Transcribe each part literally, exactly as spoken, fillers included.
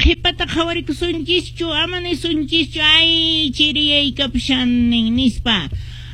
qhipata qhawarikusunchischu, ama nisunchischu, ay chiriyaykapushanin nispa,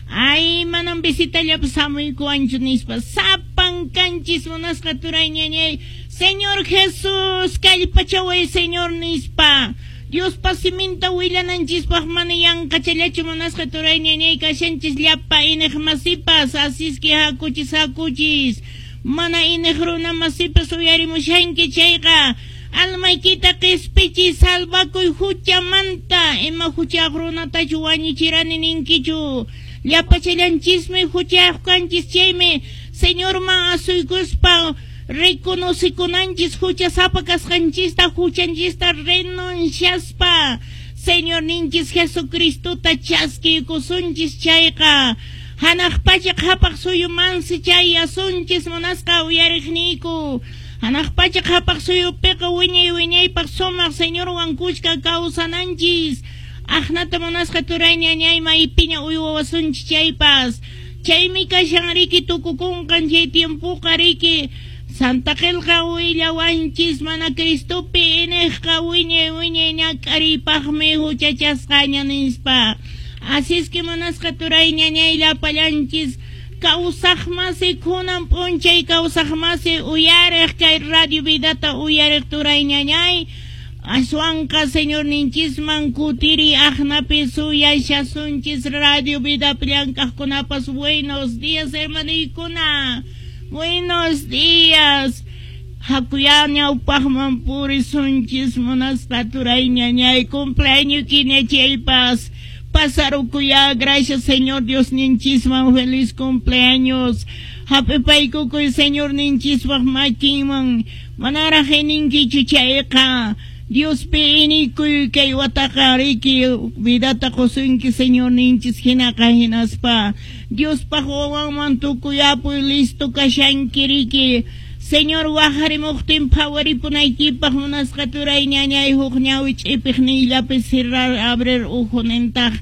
ay manam visitallapas hamuykuwanchu nispa. Sapan kanchis munasqa turay ñañay, Señor Jesús kallpachaway Señor nispa. Diospa siminta willananchispaq mana yanqachallachu munasqa turay ñañay kashanchis llapa iniq masipas, así es que hakuchis hakuchis. Mana iniq runa masipas uyarimushanki chayqa almaykita qispichiy salvakuy huchamanta. Ima huchayuq runatachu wañuchirani ninkichu, llapachallanchismi huchayuq kanchis, chaymi Señorman asuykuspa reconocikunanchis huchasapa kasqanchista, huchanchista renunciaspa Señor ninchis Jesucristota chaskiykusunchis chayqa hanaq pacha qhapaq suyumansi chayasunchis munasqa uyariqniyku. Hanaq pacha qhapaq suyupiqa wiñay wiñaypaq sumaq Señorwan kushka kawsananchis. Aqnata munasqa turay ñañay maypiña uywawasunchis chaypas, chaymi kashan riki tukukunqan chay tiempoqa riki. Santa Qillqa willawanchis mana Cristopi iniqqa wiñay wiñay ñak'ariypaqmi huchachasqaña nispa. Así es que munasqa turay ñañay llapallanchis kawsaq masi kunan p'unchay kawsaq masi uyariq kay Radio Vidata uyariq turay ñañay, aswanqa Señor ninchisman kutiri aqnapi suyashasunchis. Radio Vidapi llank'aqkunapas buenos días hermaniykuna, buenos días. Hakuya ñawpaqman purisunchis munasqa turay ñañay, cumpleaños kiña chaypas pasarukuya. Gracias Señor Dios ninchisman, feliz cumpleaños. Hap'ipaykukuy Señor ninchispaq makinman, manaraq ininkichu chayqa Diospi inikuy kay wataqa riki vidata qusunki Señor ninchis hinaqa hinaspa Diospaq wawanman tukuyapuy listo kashanki riki. Señor waqharimuqtin phawaripunaykipaq munasqa turay ñañay huk ñawi ch'ipiq niyllapi cerrar abrir uhu nintaq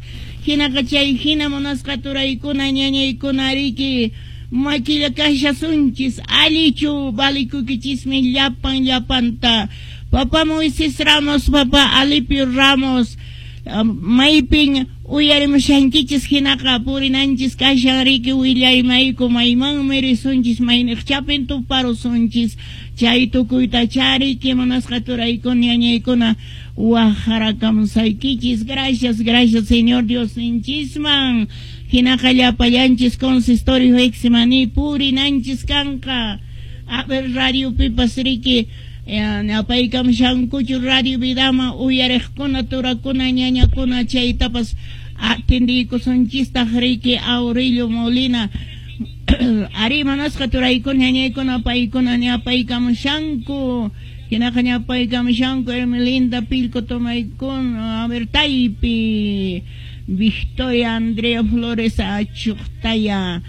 hinaqa chay hina munasqa turaykuna ñañaykuna riki makilla kashasunchis allichu valikukichismi llapan llapanta. Papá Moisés Ramos, papá Alipio Ramos, maypin uyarimushankichis hinaqa purinanchis kashan riki willaymayku maymanmi risunchis mayniqchapin tuparusunchis chay tukuyta chariki munasqa turaykuna ñañaykuna waqharakamusaykichis. Gracias, gracias Señor Dios ninchisman. Hinaqa llapallanchis consistorio Getsemaní purinanchis kanqa. A ver radio pipas riki ñapaykamushankuchu Radio Vidama uyariqkuna turakuna ñañakuna chaytapas atendiykusunchistaq riki Aurelio Molina. Ari manasqa turaykuna ñañaykuna paykuna ñapaykamushanku hinaqa ñapaykamushanku Hermelinda Pilco tomaykuna, a ver Taypi Victoria Andrea Flores Achuqtaya.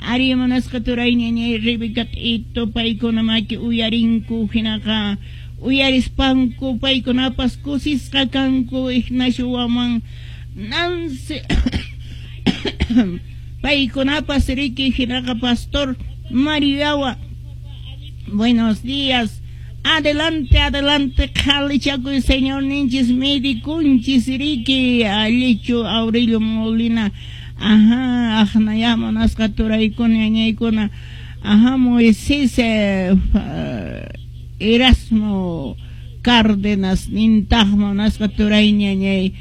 Ari munasqa turay ñañay Rebeca T'ito paykuna maki uyarinku hinaqa uyarispanku paykunapas kusisqa kanku. Ignacio Waman Nancy paykunapas riki hinaqa Pastor Mariawa, buenos días. Adelante, adelante, qhalichakuy Señor ninchis medikunchis riki allichu Aurelio Molina. Ajá, aqnaya munasqa turaykuna ñañaykuna. Ajá, Moisés eh, Erasmo Cárdenas nintaq munasqa turay ñañay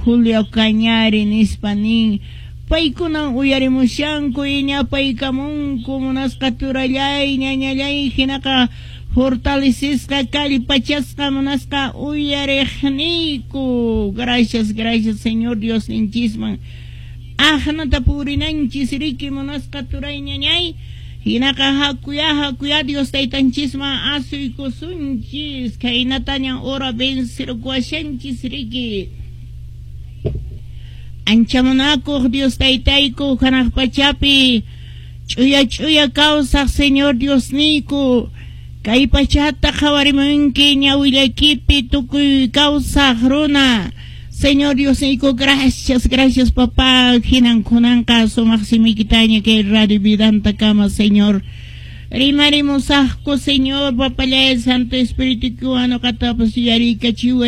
Julio Cañari nispa nin paykunan uyarimushanku ñapaykamunku munasqa turallay ñañallay hinaqa fortalecisqa kallpachasqa munasqa uyariqniyku. Gracias, gracias Señor Dios ninchisman. Aqnata purinanchis riki munasqa turay ñañay hinaqa hakuya hakuya Dios taytanchisman asuykusunchis khaynataña hora vencerkuashanchis riki. Ancha munakuq Dios taytayku hanaq pachapi ch'uya ch'uya kawsaq Señor Diosniyku kay pachata qhawarimunki ñawillaykipi tukuy kawsaq runa. Señor Diosniyku, gracias, gracias papá. Hinan kunanqa sumaq simikitaña kay Radio Vidanta kama Señor. Rimarimusaqku Señor papallay Santo Espíritu nuqatapas yuyarikachiway.